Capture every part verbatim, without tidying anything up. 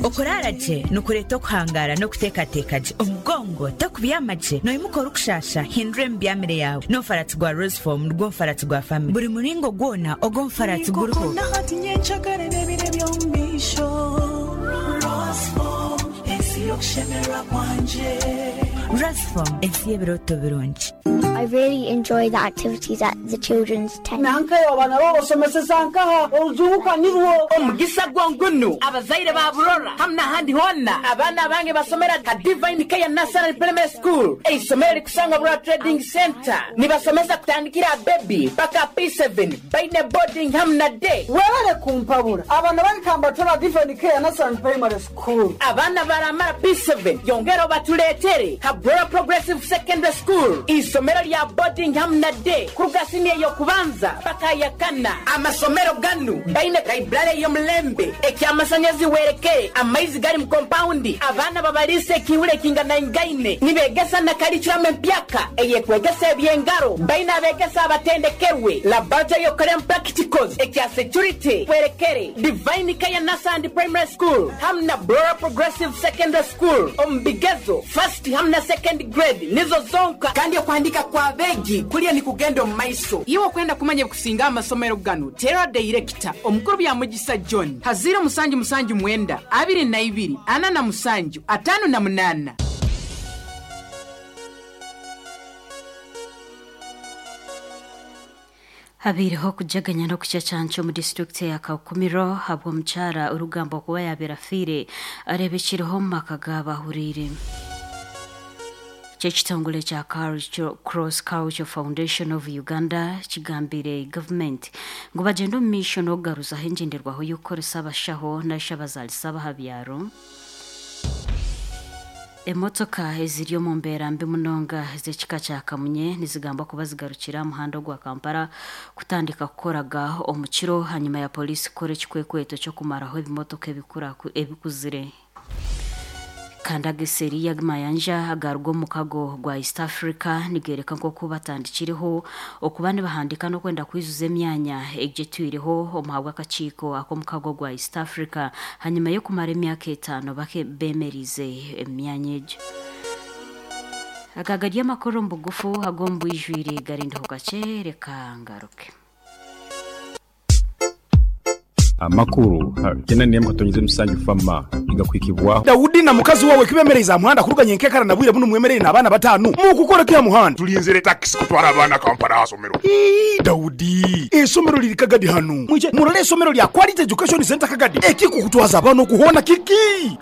Okurara gye nikureeta okuhangara n'okuteekateeka gye. Omugongo tokubyama gye, noimuka orikushasha, hindura emibyamire yaawe. N'omufaratsi gwa Roseform nigwo mufaratsi gwa family. Buri muringo gwona ogw'omufaratsi guriho. Roseform, ensi y'ebirooto birungi. I really enjoy the activities at the children's tent. Nankayo abana babasomeseza nkaha orujunguka nirwo omugisa gwongunu abazaire ba Burora hamwe n'ahandi hona abaana bange basomera ka Divine Care Nursery Primary School, eisomero rikusangwa Burora Trading Center. Nibasomesa kutandikira baby paka P seven, baine boarding hamwe na day. Webale kumpabura, abana barikamba tora Divine Care Nursery Primary School. Abaana baramara P seven, yongera batuleetere ha Burora Progressive Secondary School, isomero lya boarding hamwe na day kuruga senior yokubanza paka ya kana. Amasomero ganu baine library y'omulembe, ekyamasanyarazi werekere, amaizi gari mu compound, abaana babalise ekiihuro ekinganaingaine, nibegesa na curriculum empyaka eyekwegesa ebyengaro, baine abegesa abatendekerwe, laboratory yokoremu practicals, ekya security werekere. Divine Care Nursery Primary School hamwe na Burora Progressive Secondary School omu bigezo first hamwe na second grade nizo zonka, kandi okuhandika kwa begi kulya ni kugenda omu maiso. Iwe okwenda kumanya kusinga amasomero ganu, tera director omukuru bya Mugisa John ha ziro musanju musanju mwenda abiri na ibiri ana na musanju atano na munana. Habiireho okujaganya n'okucacanca omu disitulikiti ya Kakumiro habw'omukyara orugamba okuba yabeera afiire areebekireho omu maka g'abahuriire. Kyekitongole kya Cross Culture Foundation of Uganda kigambire gavumenti ngu bagyende omu maisho n'okugaruzaho engyenderwaho y'okukoresa abashaho narishi abazaalisa abaha byaro. Emotoka eziri omu mbeera mbi munonga ez'ekika kya kamunye nizigambwa kuba zigarukira aha muhanda ogwa Kampala kutandika kukoraga omu kiro hanyuma ya polisi kukora ekikwekweto ky'okumaraho ebimotoka ebikuzire. Kandi ageseri y'amayanja agaruga omu mukago gwa East Africa nigereka nk'oku batandikireho okuba nibahandika n'okwenda kwizuza emyanya egyo etwireho omuhabwa akakiiko ak'omukago gwa East Africa hanyuma y'okumara emyaka etaano bemerize emyanya egyo. Aga gari amakuru omu bugufu, ag'omu bwijwire garindiho kakye, reka ngaruke. Amakuru kena niyemu katonyize musanju fama igakwikibwaho. Dawudi na mukazi wawe kibemereza muhanda kuruganya enkekara na bwire buno mwemerere n'abaana batanu mukukora kya muhanda. Tulinzire takisi kutwara abaana Kampala hasomero. Ii, Dawudi, esomero liri Kagadi hanu, mwije murole esomero lya Quality Education Center Kagadi. Ekikukutwaza abaana okuhona kiki?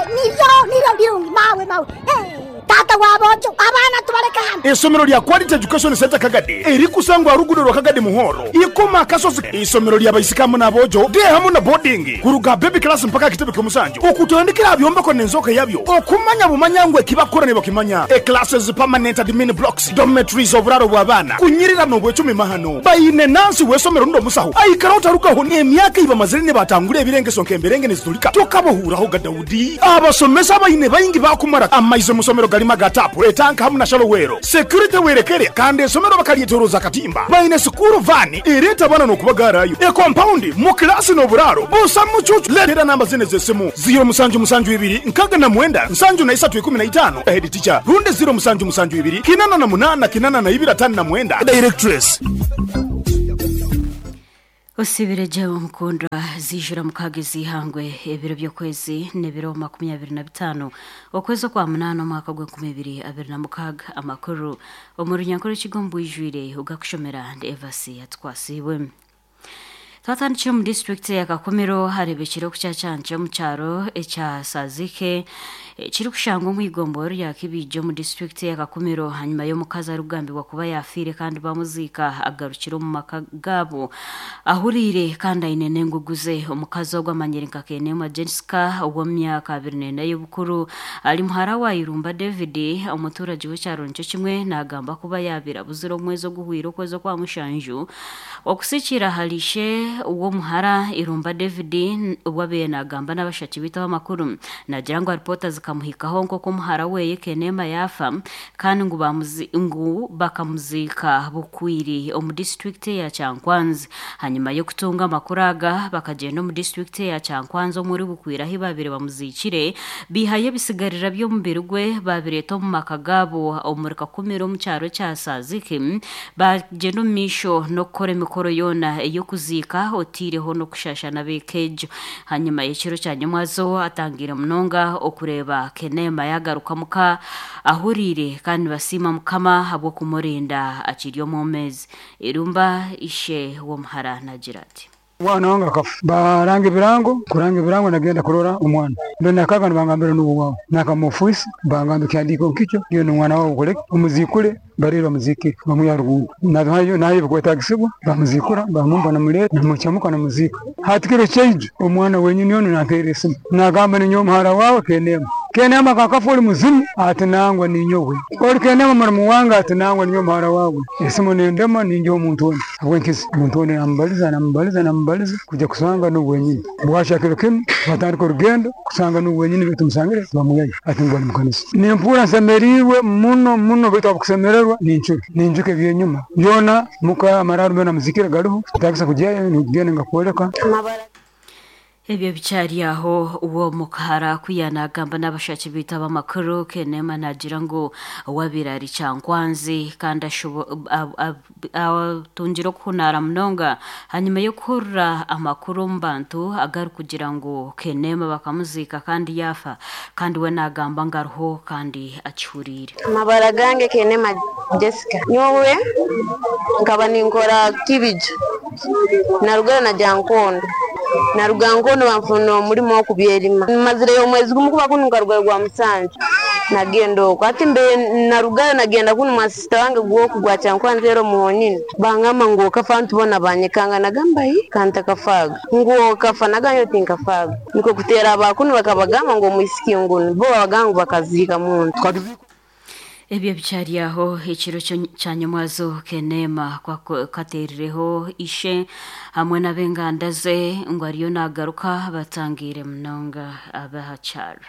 Nibyo nibyo birungi mawe mawe. Eh, tata wabojo, abaana tubaleka hano. Esomero lya Quality Education Center Kagadi erikusangwa rugudo rwa Kagadi Muhoro ikoma akasozi, isomero lya baisikamu n'abojo de hamu na boarding kuruga baby class mpaka kitebe ky'omusanju, okutandikira byombeko n'enzoka yabyo okumanya bumanya ngu ekibakora ne bakimanya. E classes, permanent admin blocks, dormitories, oburaro bw'abaana kunyirira n'obwecumi mahano. Baine nansi w'esomero ndo musaho aikara otarugaho emyaka ibamazire ne batangura ebirengeso nk'emberenge nezitulika tokabohuraho ga Dawudi. Abasomesa baine baingi bakumara amaize musomero galima ga tapu, etanka hamu na shallow well, security werekere, kandi esomero bakalyetoroza katimba. Baine school van ereta abana n'okubagarayo, e compound mu kilasi n'oburaro busa mucucu. Letera namba zine z'esimu: ziro musanju musanju ibiri nkaga na mwenda nsanju na isatu ikumi na itano, head teacher, rundi ziro musanju musanju ibiri kinana na munana kinana na ibiri atano na mwenda, directress. Osibire omukundwa, zijura mukaaga ezihangwe, ebiro by'okwezi n'ebiro makumyabiri na bitaano okwezi okwa munaana omwaka gw'enkumi ibiri abiri na mukaaga. Amakuru omu runyankore ekigo bwijwire ogakushomera ndi Evasi Yatwasiibwe. Twatandikire omu disitulikiti ya Kakumiro, harebekire okucacanca omu kyaro ekya Sazike kirikushangwa omu igomboro rya Kibiija omu disitulikiti ya Kakumiro hanyuma y'omukazi arikugambibwa kuba yafiire kandi bamuziika agarukire omu maka gaabo ahuriire kandi aine n'engugu ze. Omukazi ogwo amanyire nka Kenema Jessica ow'omu myaka abiri n'ena y'obukuru, ari muhara wa Irumba David, omuturage w'ekyaro nikyo kimwe. Nagamba kuba yaabire abuzire omwezi oguhwire okwezi okwa mushanju okusikira harishe. w'omuhara Irumba David obwabe nagamba n'abashaki bitaho amakuru nagira ngu ripota zikamuhikaho nk'oku omuhara weye Kenema yafa kandi ngu bamuzi ngu bakamuzika Bukwiri omu district ya Kyankwanzi. Hanyuma y'okutunga amakuru aga bakagenda omu district ya Kyankwanzi omuri Bukwiri ahi babiri bamuzikire bihaye ebisigarira by'omubiri gwe babireta omu maka gabo omuri Kakumiro omu kyaro kya Saziki bagenda omu maisho n'okukora emikoro yoona ey'okuziika otiireho n'okushasha n'abeekejo. Hanyuma y'ekiro kya nyamwazo atangire munonga okureba Kenema yagaruka muka ahuriire kandi basiima Mukama ahabw'okumurinda akiri omwomezi. Irumba ishe w'omuhara nagira ati Mwana wange akafa baranga ebirango kuranga ebirango nagenda kurora omwana ndo nakaga nibangambira n'uwo wawe nakamufuisi bangamba ekihandiiko nkikyo iyo n'omwana wawe okoleke omuzikure barire bamuzike bamwiha rugundo nayo nayo bikwetagisibwa bamuzikura bamumba namuleta namuchamuka namuzika hati kiro kyaijo omwana wenyini ono nampeera esimu nagamba ninyowe omuhara wawe Kenema Kenema kakafa oli muzimu ati nangwa ninyowe oli Kenema muramu wange ati nangwa ninyowe omuhara wawe esimu nendema ninjowe omuntu ono habwenkizi omuntu ono namubaliza namubaliza namubaliza kujja kusanga n'ubu wenyini bwasha kiro kinu batandika orugendo kusanga n'ubu wenyini baitu musangire bamuyayo ati ngu bali mukanisa nimpura nsemeriirwe muno muno baitu abakusemererwa nincuka ninjuka ebyenyuma byona muka amararo byona muzikire gariho tagisa kujyayo nigenda ngakwoleka Ebyo bicyari aho uwo mukahara kuyanagamba n'abashaki bitaba amakuru Kenema nagira ngo wabirari Kyankwanzi kandi atungira okuhunara munonga hanyuma yo kuhurira amakuru omu bantu agari kugira ngo Kenema bakamuzika kandi yafa kandi we nagamba ngo ariho kandi akihuriire. Amabara gange Kenema Jessica nyowe nkaba ninkora kibijo narugara na Jankondo naruga nkono banfuna omulimo okubyerima mazireyo omwezi gumu kuba kunu nkarugayo gwa musanju nagenda okwo ati mbe narugayo nagenda kunu mwa sisita wange gwoku gwa Kyankwanzi ero muhonyini bangamba ngu okafa ntubona banyekanga nagamba hi kantakafaaga ngu okafa nagamba tinkafaaga niko kuteera abakunu bakabagamba ngu omwisiki ngunu bo babagamba ngu bakaziika muntu. Ebyo bicyari aho ekiro kya nyamwazo Kenema katerireho ishe hamwe n'abenganda ze ngo ariyo nagaruka batangire munonga abahacyaro.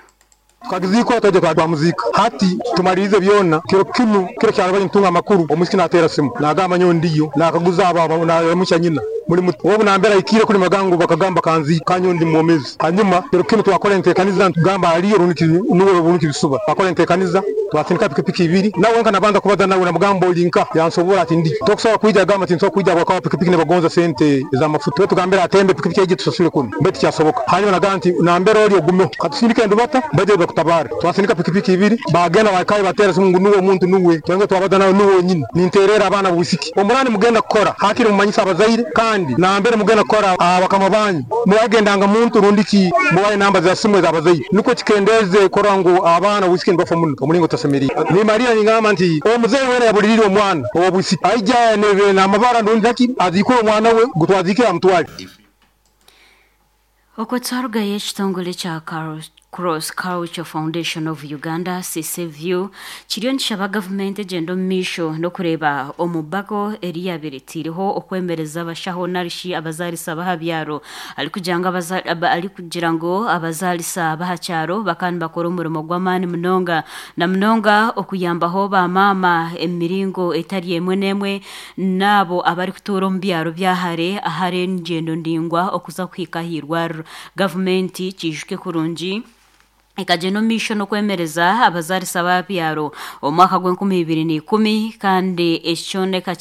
Twagiziko twaje kwa muzika hati tumalirize byona kiro kinu kiro kyarabanye ntunga amakuru omusiki natera simu nagamba nyo ndiyo nakaguza aba na nyina muri wowe nambera ikire kuri magango bakagamba kanzi kanyo ndi mwomezi hanyuma kiro kinu twakora entekaniza tugamba aliyo runiki nuwe runiki bisuba twakora entekaniza twatindika pikipiki ibiri nawe nka nabanza kubaza nawe na mugambo linka yansobora ati ndi tokusobola kwijja gamba ati nsobola kwijja bwakawa pikipiki nebagonza sente ez'amafuta tugambira atembe pikipiki eje tusasule kunu mbeti kyasoboka hanyuma nagamba nti nambera oli ogumeho katusindike ndubata baje bakutabara twasindika pikipiki ibiri bagenda bakaye batera simu nuwe omuntu nuwe twenge twabaza nawe nuwe nyine ninterera abana bwisiki omurani mugenda kukora hakiri mumanyisa abazaire kandi nambere mugenda kukora abakama banyu mubagendanga muntu rundiki mubaye namba za simu z'abazaire nuko kikendeze kora ngo abana bwisiki nibafa muno omulingo tasemeri ni Maria ningamba nti omuzeyi wena yabulirira omwana obwisiki aija nebe namabara ndundaki azikura omwana we gutwazikira amutwale. Okwo twarugayo ekitongore kya Cross Culture Foundation of Uganda C C V U kiriyo nikishaba gavumenti egyenda omu maisho n'okureeba omubago eri yabireteireho okwemereza abashaho narishi abazaalisa b'aha byaro arikugira ngu arikugira ngu abazaalisa b'aha kyaro bakaba nibakora omurimo gw'amaani munonga na munonga okuyambaho bamaama emiringo etari emwe n'emwe n'abo abarikutuura omu byaro byahare ahari engyendo ndingwa okuza kuhika aha irwariro. Gavumenti kiijuke kurungi ikagenda omu maisho n'okwemereza abazaalisa b'abyaro omwaka gw'enkumi ibiri n'ikumi kandi ekikyoneka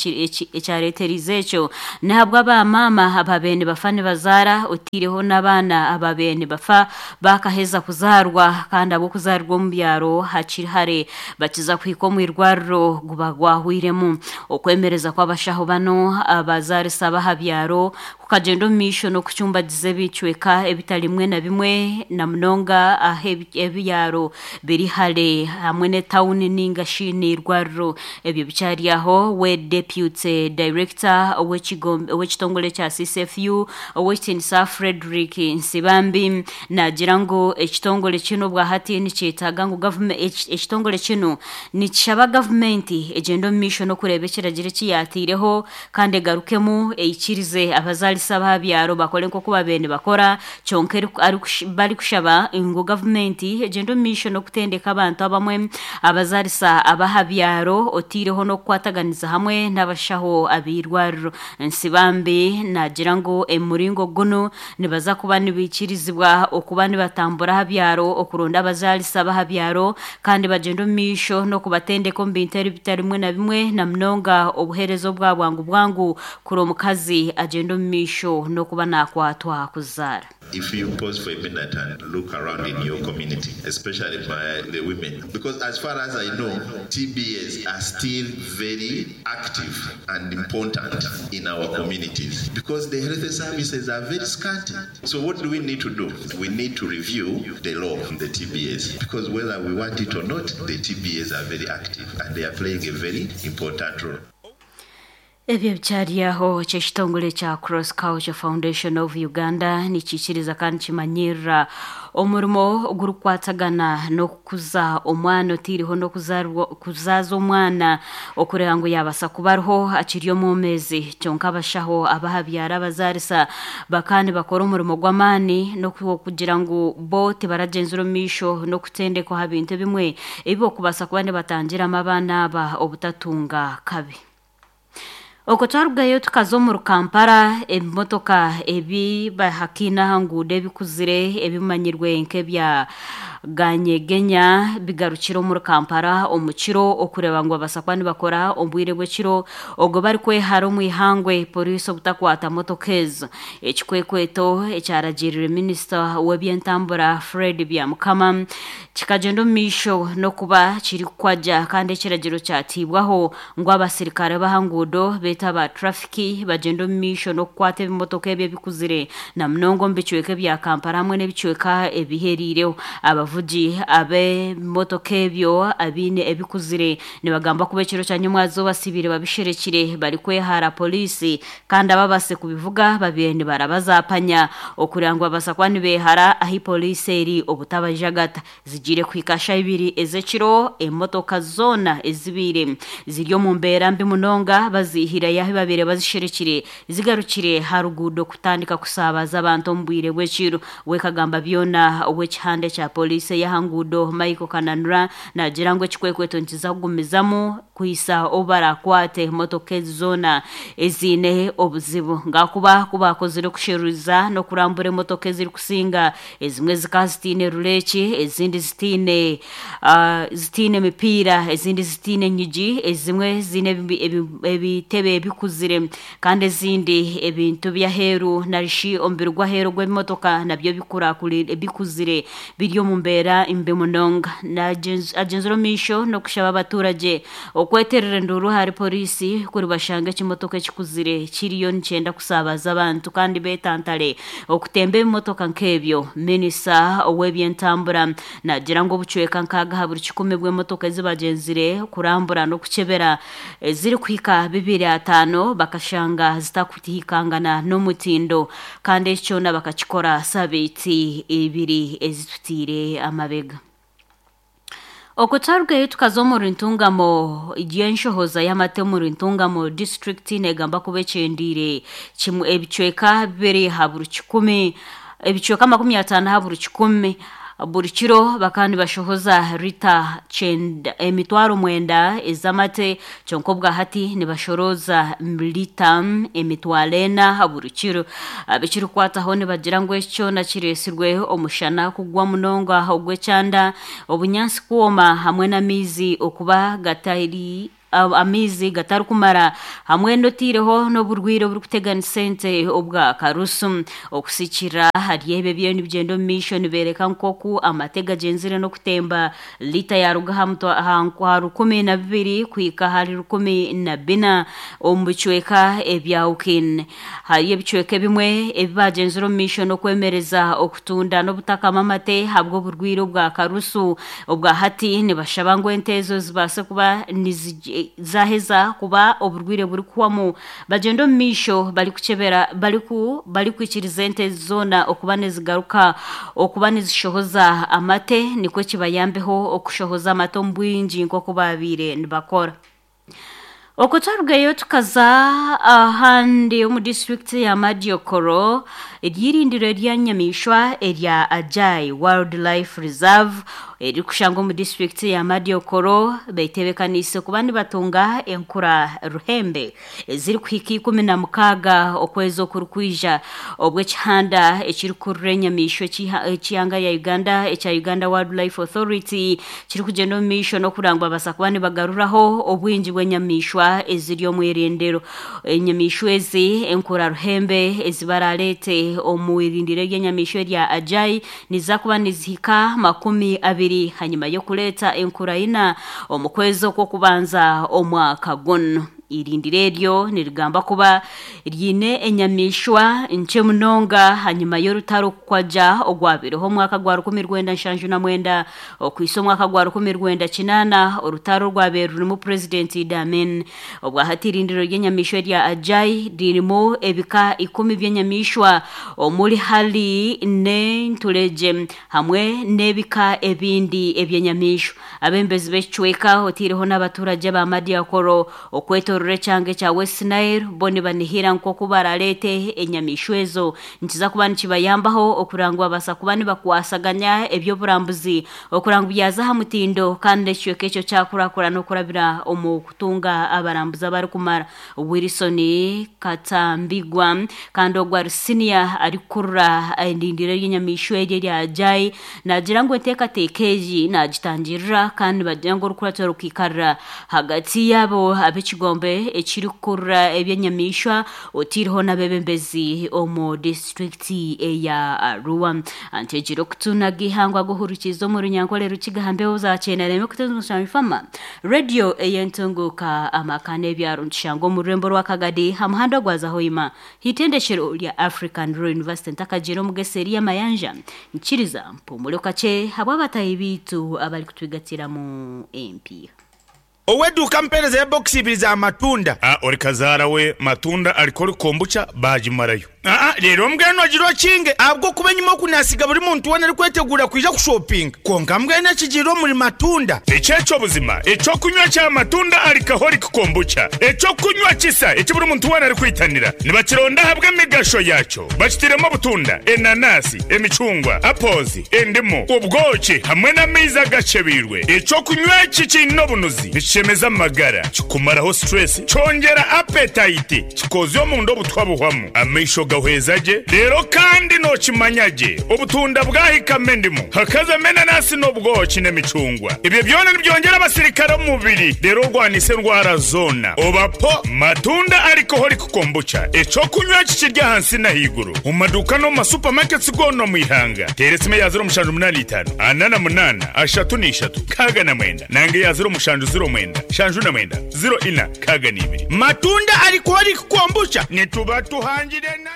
ekyareeterize ekyo nahabwa abamaama ababaire nibafa nibazaara otiireho n'abaana ababaire nibafa bakaheza kuzaarwa kandi ab'okuzaarwa omu byaro hakiri hare bakiza kuhika omu irwariro guba gwahwiremu. Okwemereza kw'abashaho bano abazaalisa b'aha byaro kukagenda omu maisho n'okucumbagiza ebicweka ebitari bimwe na bimwe na munonga ahe ebyaro biri hale hamwe ne town ninga shi n'irwariro. Ebyo bikyari aho we deputy director w'ekitongole kya C C F U Owekitinisa Frederick Nsibambi nagira ngu ekitongole kino bwahati nikyetaaga ngu government ekitongole kino nikishaba gavumenti egenda omu maisho n'okureeba ekiragiro ekiyatiireho kandi egarukemu eikirize abazaalisa b'abyaro bakore nk'oku babaire nibakora. Kyonka barikushaba ngu gavumenti egenda omu maisho n'okutendeka abantu abamwe abazaalisa abaha byaro otiireho n'okukwataganiza hamwe n'abashaho ab'eirwariro. Nsibambi nagira ngu emuringo guno nibaza kuba nibikirizibwa okuba nibatambura aha byaro okuronda abazaalisa baha byaro kandi bagenda omu maisho n'okubatendeka omu bintu ebitari bimwe na bimwe na munonga obuheereza obwa bwangu bwangu kuri omukazi agenda omu maisho n'okuba nakwatwa kuzaara. If you pause for a minute and look around in your community, especially by the women, because as far as I know, T B As are still very active and important in our communities because the health services are very scanty. So what do we need to do? We need to review the law on the T B As because whether we want it or not, the T B As are very active and they are playing a very important role. Ebyo bikyari aho ky'ekitongole kya Cross Culture Foundation of Uganda nikikiriza kandi kimanyirira omurimo ogurikwatagana n'okukuza omwana otiiriho n'okuzaza omwana okureba ngu yabasa kuba ariho akiri omwomezi. Kyonka abashaho abahabyara abazaalisa bakandi bakora omurimo gw'amaani n'okugira ngu bo tibaragyenzire omu maisho n'okutendekwa aha bintu ebimwe ebi okubaasa kuba nibatangiramu abaana aba obutatunga kabi. Okwo twarugayo tukaza omu Kampala, ebimotoka ebi bahakiina aha nguudo ebikuzire ebimanyirwe nk'ebya ganyegenya bigarukire omuri Kampala omu kiro okureba ngu babasa kuba nibakora obwire bw'ekiro ogwo barikwehara omu ihangwe poliisi obutakwata motoka ezo. Ekikwekweto ekyaragirire minisita w'ebyentambura Fred Byamukama kikagyenda omu maisho n'okuba kirikukwajya kandi ekiragiro kyatiibwaho ngu abasirikare b'aha nguudo beeta aba trafiki bagenda omu maisho n'okukwata ebimotoka ebyo ebikuzire na munonga omu bicweka ebya Kampala hamwe n'ebicweka ebiheriireho. Abavugi ab'ebimotoka ebyo abiine ebikuzire nibagamba kuba ekiro kya nyomwazooba basibire babisherekire barikwehara poliisi kandi ababase kubivuga babiire nibarabazapanya okureba ngu babasa kuba nibehara ahi poliisi eri obutabajagata. Zigiire kuhika shaaha ibiri ez'ekiro emotoka zoona ezibiire ziri omu mbeera mbi munonga bazihire yahi babiire bazisherekire zigarukire ha ruguudo kutandika kusaabaza abantu omu bwire bw'ekiro. Wekagamba byona ow'ekihanda kya poliisi y'aha nguudo Michael Kananura nagira ngu ekikwekweto nikiza kugumizamu kuhisa obu barakwate emotoka ezi zoona eziine obuzibu ngakuba kubakozire okusheruza n'okurambura emotoka ezirikusinga ezimwe zikaba zitiine rureeki ezindi zitiine uh, zitiine emipiira ezindi zitiine enyigi ezimwe ziine ebitebe ebikuzire kandi ezindi ebintu by'aheeru narishi omubiri gw'aheeru gw'ebimotoka nabyo bikurakurire bikuzire biri omu mbeera mbi munonga. Agyenzire omu maisho n'okushaba abaturage okweterera enduuru ahari poliisi kuri bashanga ekimotoka ekikuzire kiriyo nikyenda kusaabaza abantu kandi beetantare okutemba ebimotoka nk'ebyo. Minisita ow'ebyentambura nagira ngu obucweka nkaaga aha buri kikumi bw'emotoka ezibagyenzire kurambura n'okukyebera ezirikuhika bibiri ataano bakashanga zitakutihikangana n'omutindo kandi ekyo kyona bakakikora sabiiti ibiri ezitutiire amabega. Okwo twarugayo tukaza omu Ntungamo ry'enshohoza y'amate omu Ntungamo district negamba kuba ekyendiire kimwe ebicweka bibiri aha buri kikumi ebicweka makumi ataano aha buri kikumi buri kiro bakaba nibashohoza rita kyenda emitwaro mwenda ez'amate kyonka obwahati nibashoroza lita emitwaro ena buri kiro. Abekirikwataho nibagira ngu eki kyona kireesirwe omushana kugwa munonga ogw'ekyanda obunyaasi kwoma hamwe n'amaizi okuba gatari amaizi gatarikumara hamwe n'otiireho n'oburwire oburikuteganisa ente obwa karusu. Okusikira hari ebyo ebyo nibigyenda omu maisho nibeereka nk'oku amate gagyenzire n'okutemba lita yaruga aha rukumi na bibiri kuhika ahari rukumi na bina omu bicweka ebya Ukin. Hariyo ebicweka ebimwe ebi bagyenzire omu maisho n'okwemereza okutunda n'obutakama amate ahabw'oburwire obwa karusu. Obwa hati nibashaba ngu ente ezo zibaase kuba zaheza kuba oburwire burikuhwamu bagenda omu maisho barikukyebera bariku barikwikiriza ente zoona okuba nizigaruka okuba nizishohoza amate, nikwo kibayambeho okushohoza amate omu bwingi nk'oku babiire nibakora. Okutwarugayo tukaza ahandi omu disitulikiti ya Madiokoro, eryirindiro eryanyamishwa erya Ajai Wildlife Reserve erikushangwa omu disitulikiti ya Madiokoro beitebekaniise kuba nibatunga enkura ruhembe ezirikuhika ikumi na mukaaga okwezi okurikwija, obw'ekihanda ekirikurura enyamaishwa ekihanga ya Uganda ekya Uganda Wildlife Authority kirikugyenda omu maisho n'okurangwa babaasa kuba nibagaruraho obwingi bw'enyamaishwa eziri omu irindiro. Enyamaishwa ezi enkura ruhembe ezibaraleete omu irindiro ery'enyamaishwa erya Ajai niza kuba nizihika makumi abiri hanyuma y'okureeta enkura ina omu kwezi okw'okubanza omwaka guno. Irindiro eryo nirigamba kuba ryine enyamaishwa nkye munonga hanyuma y'orutaro kukwaja ogwabireho omwaka gwa rukumi rwenda nshanju na mwenda okwisa omwaka gwa rukumi rwenda kinaana, orutaro rwabeire rurimu Purezidenti Idi Amin. Obwahati irindiro ry'enyamaishwa erya Ajai ririmu ebika ikumi by'enyamaishwa omuri hari n'enturegye hamwe n'ebika ebindi eby'enyamaishwa. Abembezi b'ekicweka otiireho n'abaturage ba Madiakoro okwetorora ekyanga ekya West Nile bo nibanihira nk'oku baraleete enyamaishwa ezo nikiza kuba nikibayambaho okurangwa babaasa kuba nibakwasaganya eby'oburambuzi okurangwa byaza aha mutindo kandi ekicweka ekyo kyakurakurana okurabira omu kutunga abarambuzi abarikumara. Wilson Katambigwa kandi ogwo ari senior arikukurura endindiro ry'enyamaishwa eryo erya Ajai nagira ngu enteekateeka egi nagitangirira kandi nibagira ngu orukurato rukiikarira hagati yaabo ab'ekigombe ekirikukurura eby'enyamaishwa otiireho n'abebembezi omu disitulikiti eya Arua. Antegire okutunaga ihangwa guhurukiza omu runyankore rukigambeho zakyenda kutenza radio eyentunguka amaka n'ebyaro nkishanga omu rurembo rwa Kagadi ha muhanda gwa Zahoima hitendekero rya African Rural University ntakagira omugesi eri Mayanja nkiriza mpumule kakye habw'abatahi biitu abarikutwigatiramu empiiha. Oweduka mpereza ya box ibiri za matunda. Ah, ori kazara we matunda alikori kombucha bajimarayo. Ah, rero mbwenu agirwa kinge abwo kuba nyuma kunasiga buri muntu wena ari kwetegura kwija kushopping. Konka mbwenu akigiro muri matunda. Echecho buzima, echo kunywa cha matunda alcoholic kombucha. Echo kunywa kisa eki buri muntu wena ari kwitanira. Nibakironda habwe emigasho yacho. Bakitiremo butunda, enanasi, emicungwa, apples, endimu, ubwoki hamwe n'amaizi agacebirwe. Echo kunywa iki kino bunuzi. Nichemeza amagara, kikumaraho stress, cyongera appetite, kikozyo mu ndo butwabuhwamu. Amaisho gahwezaje rero kandi nokimanyage obutunda bwahikame ndimu hakaza menanasi n'obwoki n'emicungwa. Ibyo byona nibyongera abasirikare mu mubiri rero rwanise ndwara zona. Obapo matunda alcoholic kombucha eco kunywa kikirya hansi na higuru mu maduka no mu supermarkets gono mu ihanga. Teresime ya zero mushanju munani itanu anana munana ashatu n'ishatu kaga na mwenda nange ya zero mushanju zero mwenda shanju na mwenda zero ina kaga n'ibiri. Matunda alcoholic kombucha nituba tuhangire na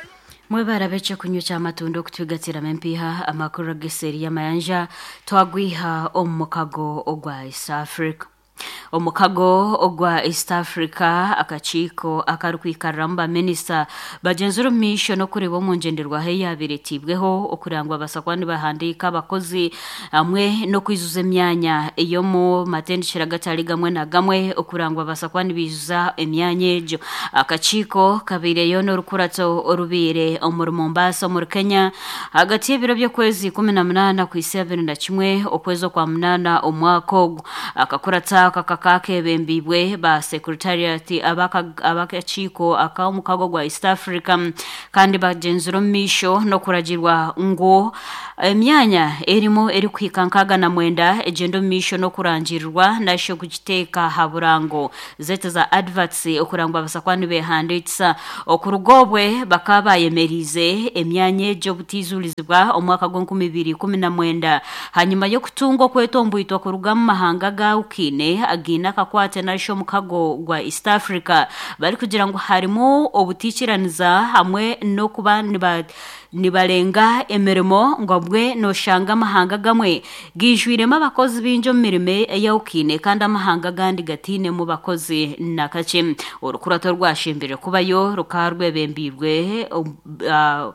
Mwebara beche kunywa cha matunda okutwigatira empiiha amakuru ageseri y'amayanja twagwiha omu mukago ogwa East Africa. Omukago ogwa East Africa akakiiko akarikwikariramu baminisita bagenzire omu maisho n'okureeba omu ngyenderwaho eyabiretibweho okurangwa babaasa kuba nibahandiika abakozi hamwe n'okwijuza emyanya ey'omu matendekero agatari gamwe na gamwe okurangwa babaasa kuba nibiijuza emyanya egyo. Akakiiko kabaireyo n'orukurato orubaire omuri Mombasa omuri Kenya hagati y'ebiro by'okwezi ikumi na munaana kwisa abiri na kimwe okwezi okwa munaana omwaka ogwo. Akakurata aka kakebembibwe ba secretariat abakakiiko ak'omukago gwa East Africa kandi bagenzire omu maisho n'okuragirwa ngu emyanya erimu erikuhika nkaaga na mwenda egyenda omu maisho n'okurangirirwa nasho kugiteeka ha burango zetu za adverts okurangwa abasakuba nibehandiikisa. Okuruga obwe bakaba bayemeriize emyanya egyo obutiizurizibwa omwaka gw'enkumi ibiri ikumi na mwenda hanyuma y'okutunga okwetombwitwa kuruga mu mahanga gawukiine agiine akakwate nasho omukago gwa East Africa barikugira ngu harimu obutiikiraniza hamwe n'okuba niba nibarenga emirimo ngo bwe noshanga amahanga gamwe gijwiremu abakozi bingi omu mirimo eyawukiine kandi amahanga agandi gatiinemu bakozi nakakye. Orukurato rwashimbire kubayo rukaba rwebembirwe uh,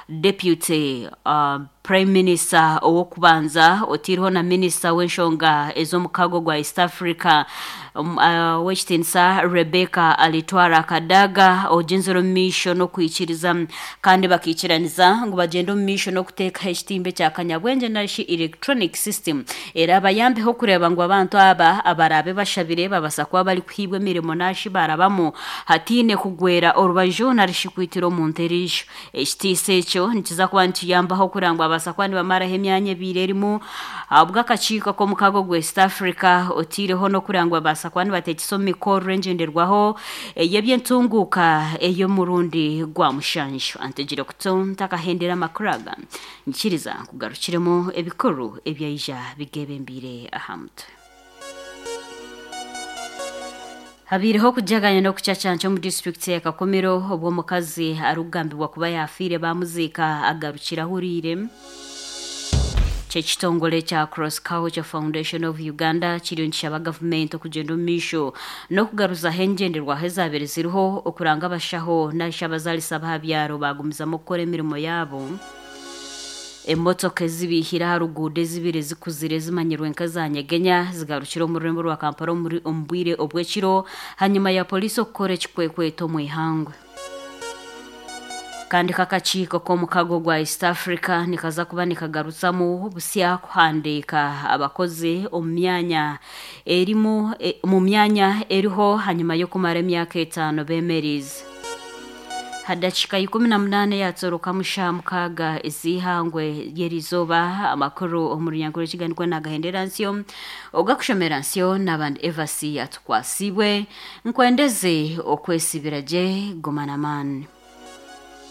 Deputy uh, Prime Minister owokubanza otiriho na Minister w'enshonga ez'omukago gwa East Africa um, uh, w'ekitinisa Rebecca Alitwara Kadaga ogenzere omu maisho n'okwikiriza kandi bakiikiraniza ngu bagenda omu maisho n'okuteekaho ekitimba ekya kanyabwengye narishi electronic system era bayambeho kureeba ngu abantu aba abaraabe bashabire babasa kuba barikuhiibwa emirimo nashi barabamu hatiine kugwera orubaju narishi kwitira omuntu eriisho. Ekitiisa ekyo nikiza kuba nikiyambaho kurangwa abasa kuba nibamaraho emyanya ebiri erimu ahabw'akakiiko k'omukago gwa East Africa otiireho n'okurangwa abasa kuba nibateekesa omu mikorro engyenderwaho ey'ebyentunguuka ey'omurundi gwa mushanju. Antegire kuto ntakahendera amakuru aga nkiriza kugarukiremu ebikuru ebyaija bigebembire aha mutwe. Habireho kujaganya n'okucacanca omu disitulikiti ya Kakomero obw'omukazi arikugambibwa kuba yafiire bamuziika agarukira ahuriire. Kyekitongole kya Cross Culture Foundation of Uganda kiriyo nikishaba gavumenti okugyenda omu maisho n'okugaruzaho engyenderwaho ezaabire ziriho okuranga abashaho narishi abazaalisa b'aha byaro bagumizamu okukora emirimo yaabo. Emotoka ezibihire aha ruguudo ezibiri zikuzire zimanyirwe nka Nyegenya zigarukire omu rurembo rwa Kampala omu bwire obw'ekiro hanyuma ya poliisi okukora ekikwekweto omu ihangwe. Kandi kakakiiko k'omukago gwa East Africa nikaza kuba nikagarutsamu busya kuhandiika abakozi omu myanya erimu e, mu myanya eriho hanyuma y'okumara emyaka etaano beemerize. Hadakika ikumi na munane yatsoroka musha mukaga ezihangwe yerizooba. Amakuru omu runyankore ekiganikwe nagahendera nsyo ogakushomera nsyo n'abandi Evasi atukwasibwe nkwendeze okwesibira gye gomana maani.